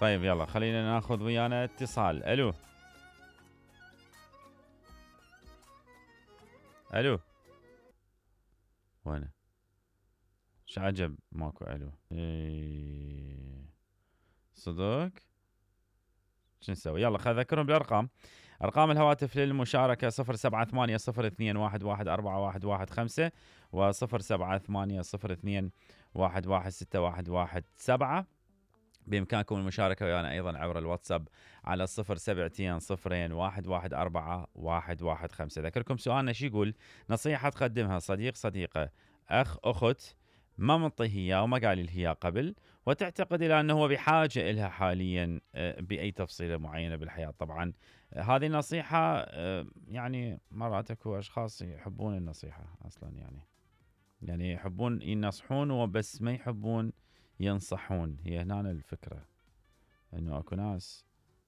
طيب يلا خلينا ناخذ ويانا اتصال. الو الو وين شعجب ماكو الو صدق شو نسوي؟ يلا خلينا نذكرهم بالارقام. ارقام الهواتف للمشاركه 0780024115 و0780211617. بامكانكم المشاركه ويانا ايضا عبر الواتساب على 072021141115. اذكركم سؤالنا شو يقول؟ نصيحه تقدمها صديق صديقه اخ اخت ما منطيه اياه وما قال لي اياه قبل، وتعتقد الى انه هو بحاجه الها حاليا باي تفصيله معينه بالحياه. طبعا هذه النصيحه يعني مرات اكو اشخاص يحبون النصيحه اصلا، يعني يحبون ينصحون وبس ما يحبون ينصحون. هي هنا الفكره، انه اكو ناس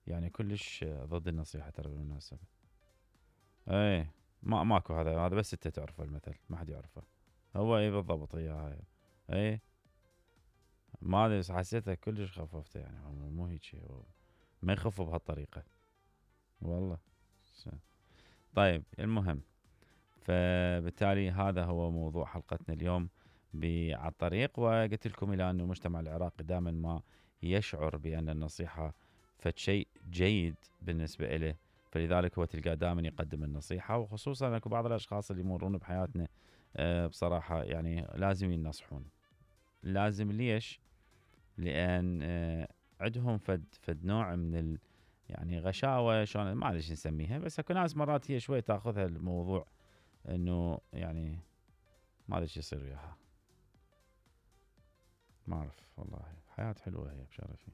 يعني كلش ضد النصيحه ترى بالمناسبه. ايه ماكو هذا بس انت تعرفه المثل، ما حد يعرفه. هو ايه بالضبط هي هاي. ايه ما ادري حسيتها كلش خففته، يعني مو هيك، ما يخفوا بهالطريقه والله. طيب المهم، فبالتالي هذا هو موضوع حلقتنا اليوم على الطريق. وقلت لكم الى ان المجتمع العراقي دائما ما يشعر بان النصيحه فشيء جيد بالنسبه له، فلذلك هو تلقاه دائما يقدم النصيحه. وخصوصا اكو بعض الاشخاص اللي يمرون بحياتنا بصراحه يعني لازم ينصحون. لازم ليش؟ لان عندهم فد نوع من يعني غشاوه، شلون ما ادري ايش نسميها، بس اكو ناس مرات هي شوي تاخذها الموضوع انه يعني ما ادري ايش يصير وياها. ما اعرف والله، حياة حلوه هي بشرفي.